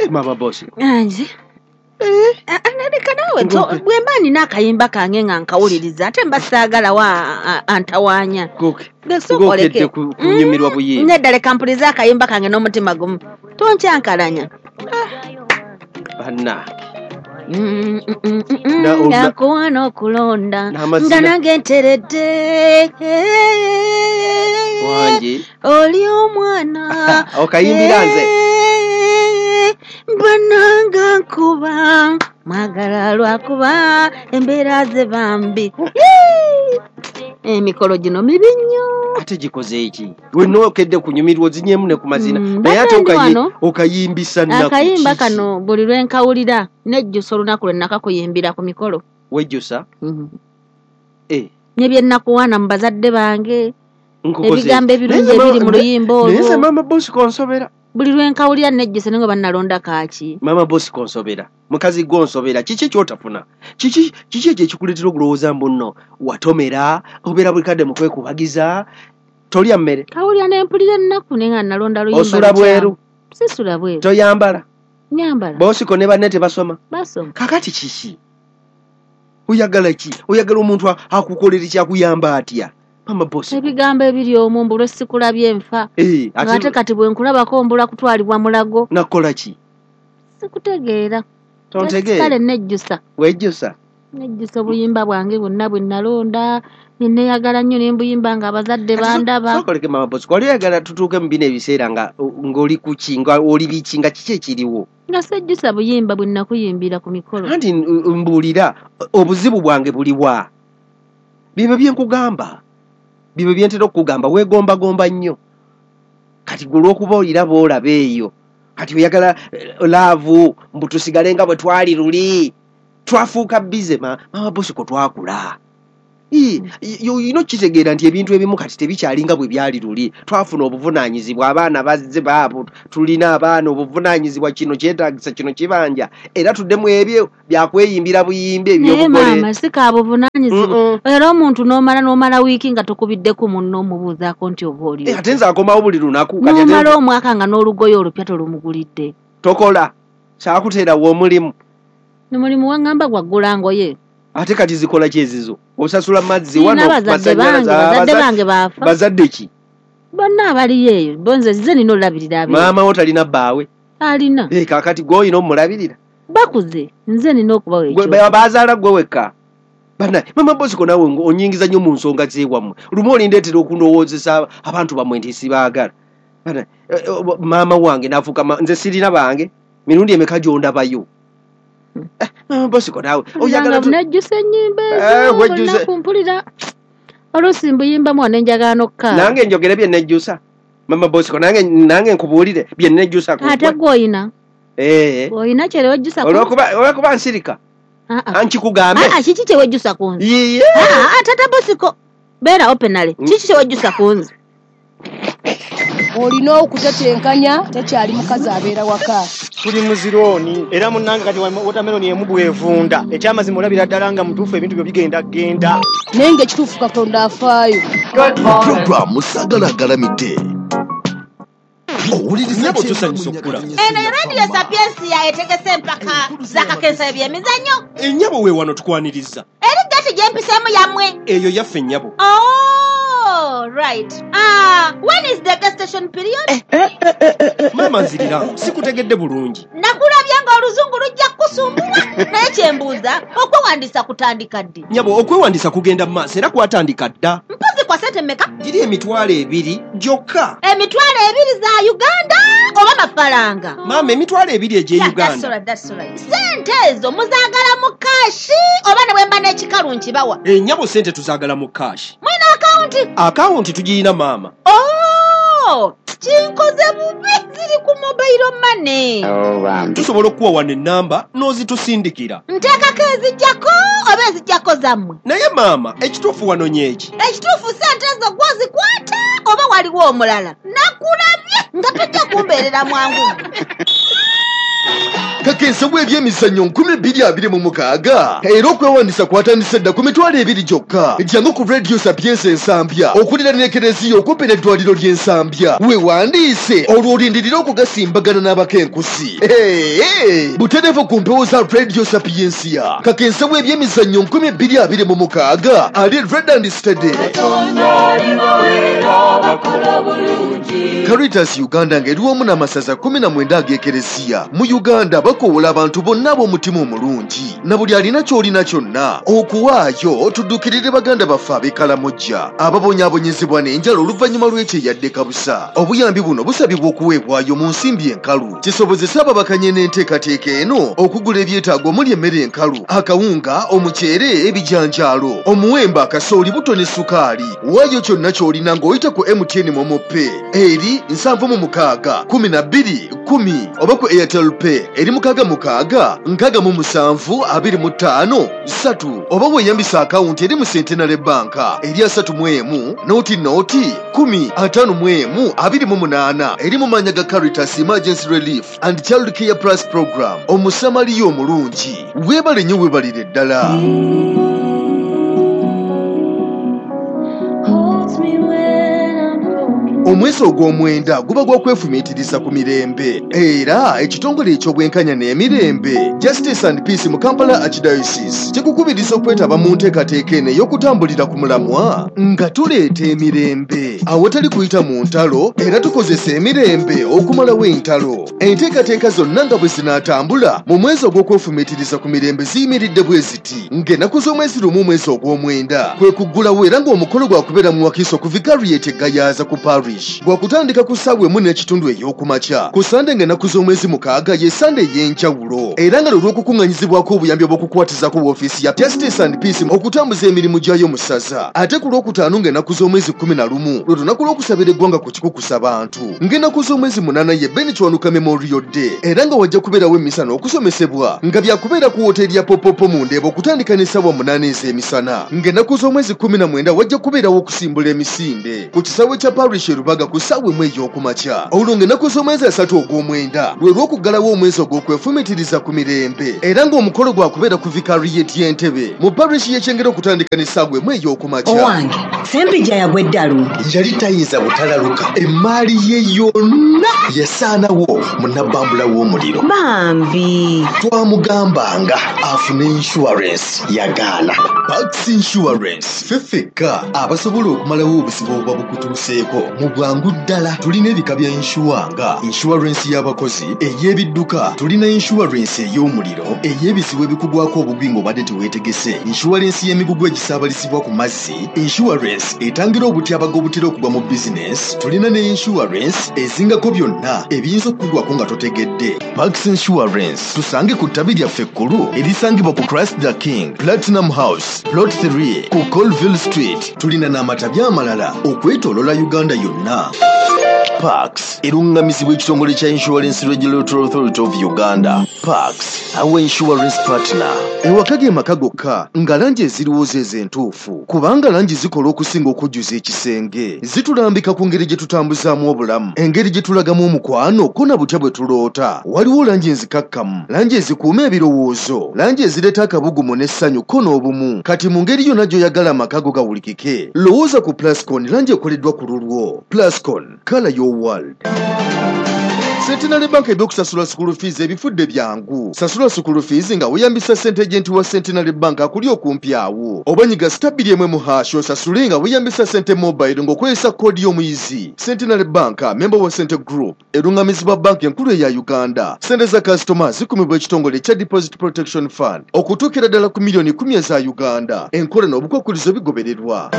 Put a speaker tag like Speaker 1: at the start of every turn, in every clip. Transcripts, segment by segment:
Speaker 1: Mama Bosco.
Speaker 2: Anji. Leka naawe bwe mba nina akayimba kange nga nkawuliriza ate mba saagala wa antawaanya.
Speaker 1: Ng'okedde kunyumirwa buyimba.
Speaker 2: Nedda leka mpulize akayimba kange n'omutima gumu. Tonkyankalanya.
Speaker 1: Bannange.
Speaker 2: Nakuwa n'okulonda nga nange nteredde.
Speaker 1: Wangi.
Speaker 2: Oli omwana.
Speaker 1: Okayimbira nze.
Speaker 2: Bananga nkuba mwagala lwakuba embeera ze bambi. Emikolo gino mibi nnyo.
Speaker 1: Ate gikoze eki? Wenna okedde kunyumirwa ozinyemu ne ku mazina. Naye ate okayimbisa nnaku.
Speaker 2: Akayimba kano buli lwe nkawulira nejjusa olunaku lwe nakakuyimbira ku mikolo.
Speaker 1: Wejjusa?
Speaker 2: Ne bye nnakuwaana mu bazadde bange. Ebigambo ebirungi ebiri mu luyimba olwo.
Speaker 1: Naye nze Mama Bosco nsobera.
Speaker 2: Buli lwe nkawulira nejjusa naye nga bannalonda kaaki.
Speaker 1: Mama Bosco nsobera. Mukazi gwo nsobera. Kiki ky'otafuna? Kiki ekyo ekikuleetera okulowooza mbu nno watomera, obeera buli kadde mu kwekubagiza, tolya mmere.
Speaker 2: Kawulira ne mpulira ennaku naye nga nalonda luyimba.
Speaker 1: Osula bweru.
Speaker 2: Sisula bweru.
Speaker 1: Toyambala.
Speaker 2: Nyambala.
Speaker 1: Bosco ne banne tebasoma.
Speaker 2: Basoma.
Speaker 1: Kakati kiki? Oyagala ki? Oyagala omuntu akukolera kyakuyamba atya? Mama Bosco.
Speaker 2: Ebigambo ebiri omwo mbu lwe sikulabye nfa. Ate kati bwe nkulabako mbula kutwalibwa mulago.
Speaker 1: Nakola ki?
Speaker 2: Sikutegeera.
Speaker 1: Tontegeera.
Speaker 2: Kale nejjusa.
Speaker 1: Wejjusa?
Speaker 2: Nejjusa obuyimba bwange bwonna bwe nalonda. Nneeyagala nnyo ne mbuyimba nga abazadde bandaba.
Speaker 1: Sookoleke Mama Bosco. Wali oyagala tutuuke mu bino ebiseera nga ng'oli ku ki, nga oli biki, nga kiki ekiriwo?
Speaker 2: Nga sejjusa buyimba bwe nakuyimbira ku mikolo.
Speaker 1: Anti mbuulira obuzibu bwange buli wa? Bibyo bye nkugamba. Bibyo bye ntera okukugamba weegombagomba nnyo. Kati gwe olw'okuba olira b'olaba eyo. Kati oyagala laavu mbu tusigale nga bwe twali luli. Twafuuka bize Mama Bosco twakula. Olina okukitegeera nti ebintu ebimu kati tebikyali nga bwe byali luli. Twafuna obuvunaanyizibwa, abaana bazze baabo, tulina abaana obuvunaanyizibwa, kino kyetaagisa, kino kibanja. Era tuddemu ebyo byakweyimbira buyimbi eby'obugole.
Speaker 2: Naye maama si ka buvunaanyizibwa. Era omuntu n'omala wiiki nga tokubiddeko munno omubuuzaako nti oba oli.
Speaker 1: Ate nze akomawo buli lunaku.
Speaker 2: N'omala omwaka nga n'olugoye olupya tolumugulidde.
Speaker 1: Tokola. Saakuteerawo omulimu.
Speaker 2: Omulimu waŋŋamba gwaggula ngoye.
Speaker 1: Ate kati zikola ki ezizo? Osasula mazzi wano,
Speaker 2: masannyalaze. Bazadde bange baafa.
Speaker 1: Bazadde ki?
Speaker 2: Bonna abaliyo eyo. Bo nze nze nina olabirira abeeyo.
Speaker 1: Maama wo talina bbaawe?
Speaker 2: Alina.
Speaker 1: Kaakati gwe olina omulabirira?
Speaker 2: Bakuze. Nze nina okubawa ekyo.
Speaker 1: Bazaala gwe wekka. Bannaye, Mama Bosco naawe onyingiza nnyo mu nsonga z'ewammwe. Lumu olindeetera okundowoozesa abantu bammwe nti sibaagala. Bannaye, maama wange n'afuuka nze sirina bange. Mirundi emeka gy'ondabayo? Mama Bosco naawe oyagala
Speaker 2: nejjusa ennyimba ezo olunaku mpulira oluusi mbuyimbamu wano njagala n'okkaaba.
Speaker 1: Nange njogere bye nejjusa. Mama Bosco nange nkubuulire bye nejjusa ku.
Speaker 2: Ate gwe oyina? Oyina kye wejjusa ku.
Speaker 1: Olw'okuba nsirika. Ankikugambe.
Speaker 2: Kiki kye wejjusa ku nze?
Speaker 1: Yiye.
Speaker 2: Tata Bosco beera openale. Kiki kye wejjusa ku nze?
Speaker 3: Olina okutetenkanya tekyali mukazi abeera waka.
Speaker 4: Tuli muzirooni era munnange kati watermelon emu bw'evunda. Ekyamazima olabira ddala nga mutuufu ebintu byo bigenda genda.
Speaker 3: Naye ng'ekituufu Katonda afaayo.
Speaker 5: Programu Sagala Galamidde.
Speaker 1: Nnyabo tusanyusa okukula.
Speaker 2: Eno ye Radio Sapiensia etegese empaka z'akakensa eby'emizannyo.
Speaker 1: Ennyabo we wano tukwaniriza.
Speaker 2: Eri gati gye mpiseemu yammwe.
Speaker 1: Eyo yaffe nnyabo.
Speaker 2: Oh, right. When is the gestation period?
Speaker 1: Maama nzirira, sikutegedde bulungi.
Speaker 2: Nakulabye ng'oluzungu lujja kukusumbuwa. Naye kye mbuuza, okwewandiisa kutandika ddi?
Speaker 1: Nnyabo, okwewandiisa kugenda mu maaso era kwatandika dda.
Speaker 2: Mpozi kwa ssente mmeka?
Speaker 1: Giri 20,000 gyokka.
Speaker 2: 20,000 za Uganda oba mafaranga?
Speaker 1: Maama, 20,000 egy'e Uganda.
Speaker 2: That's right. Ssente ezo muzaagala mu kaashi oba ne bwe mba n'ekikalu nkibawa?
Speaker 1: Nnyabo, ssente tuzaagala mu kaashi.
Speaker 2: Mulina akawunti?
Speaker 1: Akawunti tugiyina maama.
Speaker 2: Oh, kinkoze bubi, ziri ku mobile money.
Speaker 1: Tusobola okuwa wano ennamba n'ozitusindikira.
Speaker 2: Nteekako ezijjako oba ezijjako zammwe?
Speaker 1: Naye maama, ekituufu wano nyeeki.
Speaker 2: Ekituufu ssente ezo gw'ozikwata oba waliwo omulala? Nakulabye nga tojja kumbeerera mwangu.
Speaker 5: Kakensa w'ebyemizannyo 2026 era okwewandisa kwatandise dda ku 20,000 gyokka. Jangu ku Radio Sapienza Ensambya okuliraana Ekereziya okumpi n'eddwaliro ly'Ensambya, weewandiise olwo olindirire okugasimbagana n'abakenkusi. Butereevu ku mpewo za Radio Sapiensia. Kakensa w'ebyemizannyo 2026 ali red and steady. Caritas Uganda ng'eri wamu n'amasaza 19 ag'Ekereziya mu Uganda bakoowola abantu bonna ab'omutima omulungi na buli alina ky'olina kyonna okuwaayo tuddukirire baganda baffe ab'e Kalamojja ababonyaabonyezebwa n'enjala oluvannyuma lw'ekyeyadde kabusa. Obuyambi buno busabibwa okuweebwayo mu nsimbi enkalu kisobozese ababakanye n'enteekateeka eno okugula ebyetaago omuli emmere enkalu, akawunga, omuceere, ebijanjaalo, omuwemba, akasooli, buto ne sukaali. Waayo kyonna ky'olina ng'oyita ku MTN MoMo Pay eri 76 12 10 oba ku Airtel Pay eri 66 67 25 3 oba weeyambisa akawunti eri mu Centenary Bank eri 31 0 0 10 51 28 eri mu mannya ga Caritas Emergency Relief and Child Care Plus Program. Omusamaliya omulungi, weebale nnyo, weebalire ddala. Omwezi ogw'omwenda guba gwa kwefumiitiriza ku mirembe era ekitongole eky'obwenkanya n'emirembe Justice and Peace mu Kampala Archdiocese kikukubiriza okwetaba mu nteekateeka eno ey'okutambulira ku mulamwa nga tuleeta emirembe awatali kuyita mu ntalo era tukozesa emirembe okumalawo entalo. Enteekateeka zonna nga bwe zinaatambula mu mwezi ogw'okwefumiitiriza ku mirembe ziyimiridde bwe ziti ng'ennaku z'omwezi 1 omwezi ogw'omwenda kwe kuggulawo era ng'omukolo gwakubeera mu Wakiso ku Vicariate Gayaza ku Parish gwakutandika ku ssaawa 1:15 ey'okumakya. Ku Sande ng'ennaku z'omwezi 6 ye Sande ey'enjawulo era nga lw'okukuŋŋanyizibwako obuyambi obw'okukwatizako woofiisi ya Justice and Peace okutambuza emirimu gyayo mu ssaza. Ate ku Lwokutaano ng'ennaku z'omwezi 11 lwe lunaku lw'okusabira eggwanga ku kikukusa bantu. Ng'ennaku z'omwezi 8 ye Ben Kiwanuka Memorial Day era nga wajja kubeerawo emmisa n'okusomesebwa nga byakubeera ku woteeri ya Popopo mu Ndeeba okutandika n'essaawa 8 ez'emisana. Ng'ennaku z'omwezi 19 wajja kubeerawo okusimbula emisinde ku kisaawe kya Parish Rubaga ku ssaawa 1 ey'okumakya. Olwo ng'ennaku z'omwezi 3 ogw'omwenda lwe lw'okuggalawo omwezi ogw'okwefumiitiriza ku mirembe era ng'omukolo gwakubeera ku Vicariate y'Entebe mu parish y'Ekyengera okutandika n'essaawa 1 ey'okumakya.
Speaker 6: Owange, Ssempijja yagwa eddalu.
Speaker 5: Yali tayinza butalaluka, emmaali ye yonna yasaanawo mu nabbambula w'omuliro.
Speaker 6: Bambi
Speaker 5: twamugambanga afune insurance yagaana. Pax Insurance ffe ffekka abasobola okumalawo obuzibu obuba bukutuuseeko mu bwangu ddala. Tulina ebika bya inshuwa nga insurance y'abakozi, ey'ebidduka, tulina insurance ey'omuliro, ey'ebizibu ebikugwako obugwi ng'obadde teweetegese, insurance y'emigugu egisaabalizibwa ku mazzi, insurance etangira obutyabaga obutera okugwa mu bizinesi, tulina ne insurance ezingako byonna ebiyinza okukugwako nga totegedde. Pax Insurance tusange ku ttabi lyaffe ekkulu erisangibwa ku Christ the King Platinum House Plot 3 ku Colville Street. Tulina n'amatabi amalala okwetoolola Uganda yonna. Pax eruŋŋamizibwa ekitongole kya Insurance Regulatory Authority of Uganda. Pax, our insurance partner. Ewaka ge maka gokka nga langi eziriwo ze entuufu, kubanga langi zikola okusinga okujjuza ekisenge. Zitulambika ku ngeri gye tutambuzaamu obulamu, engeri gye tulagamu omukwano ko na butya bwe tuloota. Waliwo langi enzikakkamu, langi ezikuuma ebirowoozo, langi ezireeta akabugumu n'essanyu ko n'obumu. Kati mu ngeri yonna gy'oyagala amaka go gawulikike, lowooza ku Plascon, langi ekoleddwa ku lulwo. Plascon, color your world. Centenary Bank ebyokusasula school fees ebifudde byangu. Sasula school fees nga weeyambisa ssente agent wa Centenary Bank akuli okumpi awo. Oba nyiga *2 mu hash osasule nga weeyambisa ssente mobile ng'okozesa koodi y'omuyizi. Centenary Bank, member wa Sente Group, erungamizibwa banki enkulu eya Uganda. Ssente za kasitoma zikumibwa ekitongole ekya Deposit Protection Fund okutuukira ddala ku miliyoni 10 eza Uganda. Enkola n'obukwakkulizo bigobererwa.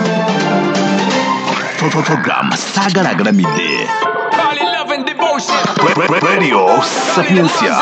Speaker 7: Program Saagala Agalamidde. Radio Sapientia.